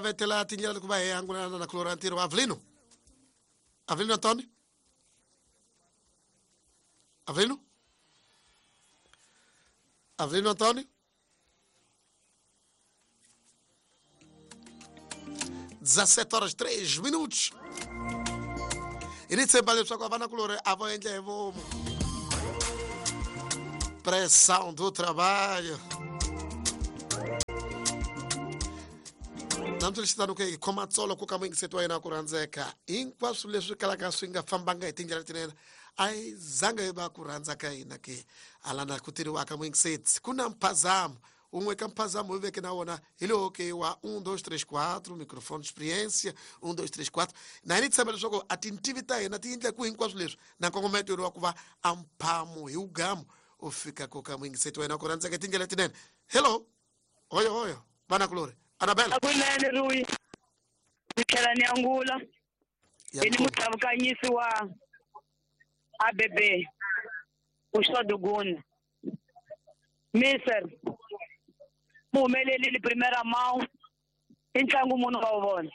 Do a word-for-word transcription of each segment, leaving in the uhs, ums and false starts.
Vetela tindlela ku va hi angulana na Clorantiro Avelino. Avelino Antônio? Avelino? Avelino Antônio? dezassete horas três minutos. E nem sempre leswaku vana kulori a vo endla hi vomu. Pressão do trabalho. Namtshela ke khoma tsolo ku ka muyingiseti wa yena ku rhandzeka hinkwaswo leswi kalaka swi nga fambanga hi tindlela tinene a yi zanga yi va ku rhandza ka hina ke alana ku tiriwaka muyingiseti ku na mphazamo wun'we ka mphazamo hi veke na wona hi lowo ke wa um dois três quatro microfone experiência um dois três quatro na hina tshemba leswaku a tintivi ta hina ti endla ku hinkwaswo leswi na nkongometo wa ku va a mphamo hi wugamu u fika ku ka muyingiseti wa yena ku rhandzeka hi tindlela tinene. Hello, hoyo hoyo vana kulori Anabela. Akunene Rui. Ndzi ni angula. Ni mutavukanyisi wa A B B. Uxoduguna. Mister Muhumeleli primeira mão. I ntlangu munhu wa vona.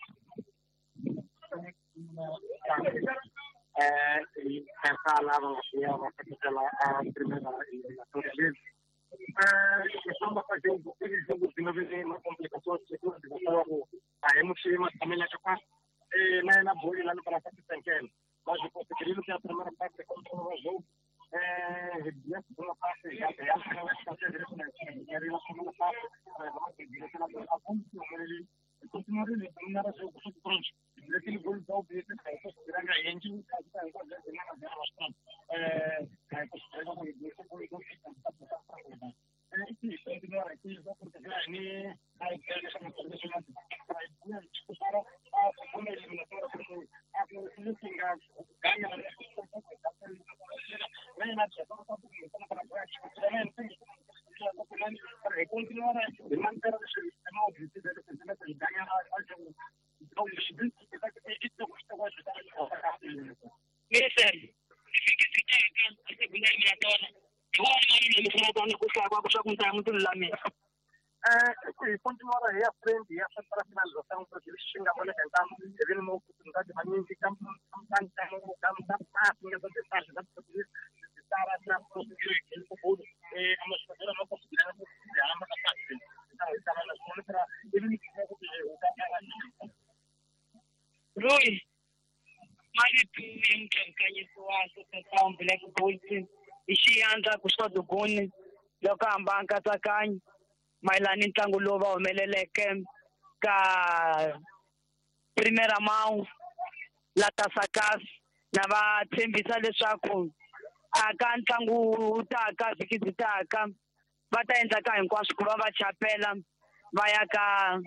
Eh, essa lava ya va seketela a primeira eliminatória deles. Estamos fazendo aquele jogo de novo uma complicação de segundo a emoção também lá capaz na na bola lá no para fazer mas eu conseguiram que a primeira parte contra o jogo eh a segunda parte já já a segunda parte continuar ele não era jogo pronto aquele gol da O B eh Mister, eh continuar aí à frente e essa para a finalização porque eles chegam a bola tentar ele uma oportunidade magnífica campo campo campo Rui, mali Black Bulls i xiandla ku Xoduguni loko hamba nkatsakanyo mayelana ni ntlangu lowu va humeleleke ka Primeira Mão la Tasakas na va tshembisa leswaku aka ntlangu wu taka vhiki byi taka va ta endla ka hinkwaswo ku va va chapela va ya ka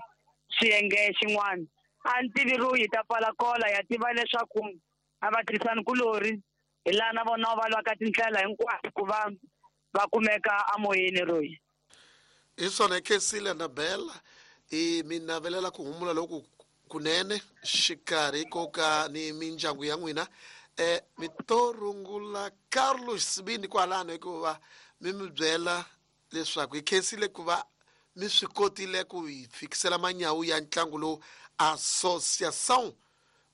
xiyenge xin'wana. A ni tivi Rui ta pfala kola ya tiva leswaku a va tirhisani kulori hi laha na vona va lwaka tindlela hinkwato ku va va kumeka amoyeni Rui. Hi swona khensile Anabela i mi navelela ku humula loku kunene xikarhi ko ka ni mindyangu ya n'wina eh mi to rungula Carlos Sibini kwalano hikuva mi mi byela leswaku hi khensile ku va mi swi kotile ku hi fikisela manyawu ya ntlangu lowu Associação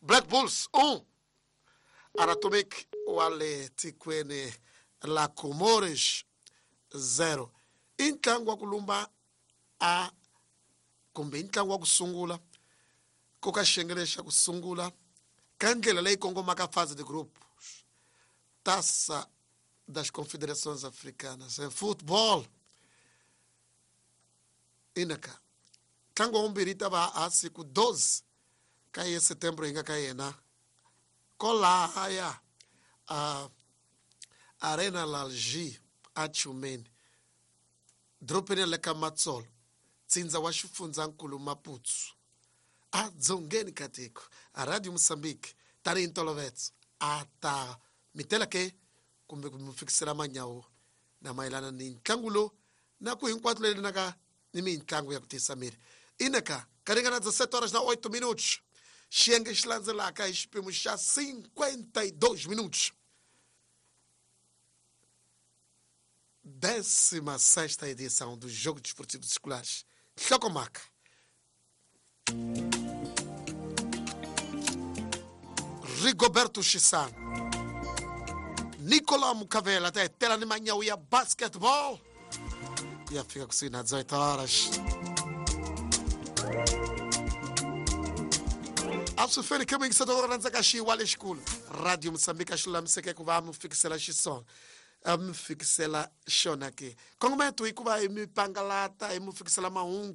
Black Bulls um Anatomic wa le tikweni la Comores zero. I ntlangu wa ku lumba a kumbe i ntlangu wa ku sungula ko ka xiyenge xa ku sungula ka ndlela leyi kongomaka fase de grupo Taça das Confederações Africanas em futebol. Inaka ntlangu wa vumbirhi ta va a siku doze ka ye setembro hi nga ka yena kolahaya a Arena Lalji a Tchumene dropeni le ka Matsolo tsindza wa xifundzankulu Maputo a dzongeni ka tiko a Radio Moçambique tanihi ntolovelo a ta mi tela ke kumbe ku mi fikisela manyawu na mayelana ni ntlangu lowu na ku hinkwato leyi naka ni mintlangu ya ku tiyisa miri. Inaka ka ringana dezessete horas na oito minutos xiyenge xi landzelaka hi xipimo xa cinquenta e dois minutos. Décima sexta edição do Jogo Desportivo Escolares. Hlokomhaka. Rigoberto Chisano Nicolau Mucavela ta hetela ni manyawu ya basketball ya fika kusuhi na dezoito horas. A swi feli khe muyingiseti wa rhandzaka xiwa lexikulu Radio Moçambique a xi lulamiseke ku va mi fikisela xiswona a mi fikisela xona ke kongometo i ku va hi mi pangalata hi mi fikisela mahungu